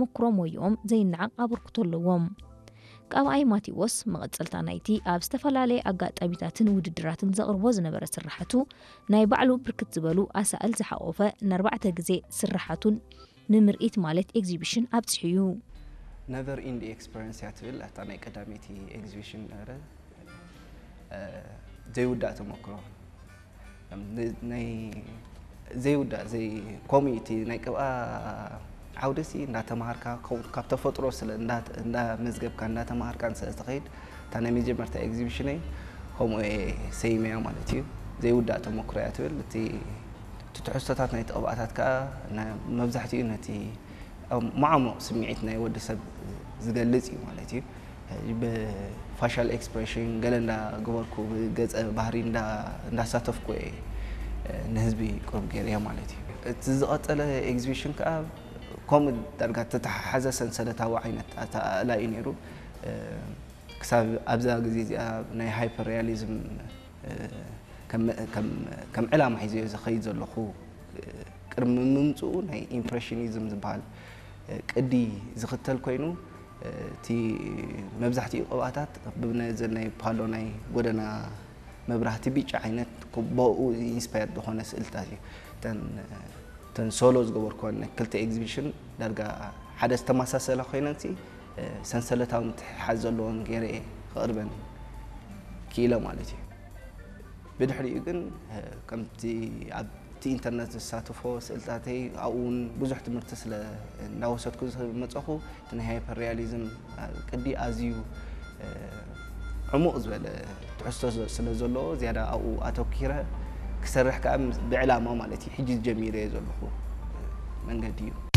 ተመክሮ ሞይኦም ዘይነዓቕ ኣበርክቶ ኣለዎም። ቃብኣይ ማቴዎስ መቐጸልታ ናይቲ ኣብ ዝተፈላለየ ኣጋጣሚታትን ውድድራትን ዘቕርቦ ዝነበረ ስራሓቱ፣ ናይ ባዕሉ ብርክት ዝበሉ ኣሳእል ዝሓቖፈ ንኣርባዕተ ግዜ ስራሓቱን ንምርኢት ማለት ኤግዚቢሽን ኣብጺሑ እዩ። ነቨር ኢንድ ኤክስፐሪንስ እያ ትብል ኣታ ናይ ቀዳመይቲ ኤግዚቢሽን ነበረ። ዘይውዳእ ተመክሮ ናይ ዘይውዳእ ዘይ ኮሚቲ ናይ ቅብኣ ዓውደሲ እንዳተማሃርካ ካብ ተፈጥሮ ስለ እንዳመዝገብካ እንዳተማሃርካ ስለ ትኸይድ እታ ናይ መጀመርታ ኤግዚቢሽነይ ከምኡ ሰይመያ ማለት እዩ። ዘይውዳእ ተመክሮ እያ ትብል እቲ እቲ ትሕዝቶታት ናይቲ ቅብኣታት ከዓ መብዛሕትኡ ነቲ ማዕሙቕ ስምዒት ናይ ወዲ ሰብ ዝገልጽ እዩ ማለት እዩ። ብፋሻል ኤክስፕሬሽን ገለ እንዳገበርኩ ብገጸ ባህሪ እንዳሳተፍኩ እየ ንህዝቢ ቅሩብ ገይረዮ ማለት እዩ። እቲ ዝቐጸለ ኤግዚቢሽን ከዓ ከምኡ ዳርጋ ተተሓሓዘ ሰንሰለታዊ ዓይነት ኣተኣእላ እዩ ነይሩ። ክሳብ ኣብዛ ግዜ እዚኣ ናይ ሃይፐር ሪያሊዝም ከም ዕላማ ሒዘዮ ዝኸይድ ዘለኹ ቅድሚ ምምፅኡ ናይ ኢምፕሬሽኒዝም ዝበሃል ቅዲ ዝኽተል ኮይኑ እቲ መብዛሕትኡ ቅብኣታት ብነዘ ናይ ፓሎ ናይ ጎደና መብራህቲ ብጫ ዓይነት ብኡ ኢንስፓየር ዝኾነ ስእልታት እዩ። እተን ሶሎ ዝገበርኩወን ክልተ ኤግዚቢሽን ዳርጋ ሓደ ዝተመሳሰላ ኮይነን ሰንሰለታዊ ምትሕሓዝ ዘለዎን ገይረ እየ ክቕርበን ክኢለ ማለት እዩ። ብድሕሪኡ ግን ከምቲ ኣብቲ ኢንተርነት ዝሳተፎ ስእልታተይ ኣብኡ እውን ብዙሕ ትምህርቲ ስለ እንዳወሰድኩ ዝመፀኹ እቲ ናይ ሃይፐር ሪያሊዝም ቅዲ ኣዝዩ ዕሙቕ ዝበለ ትሕዝቶ ስለ ዘለዎ ዝያዳ ኣብኡ ኣተኪረ ክሰርሕ ከዓ ብዕላማ ማለት እዩ ሕጂ ጀሚረ እየ ዘለኹ መንገዲ እዩ።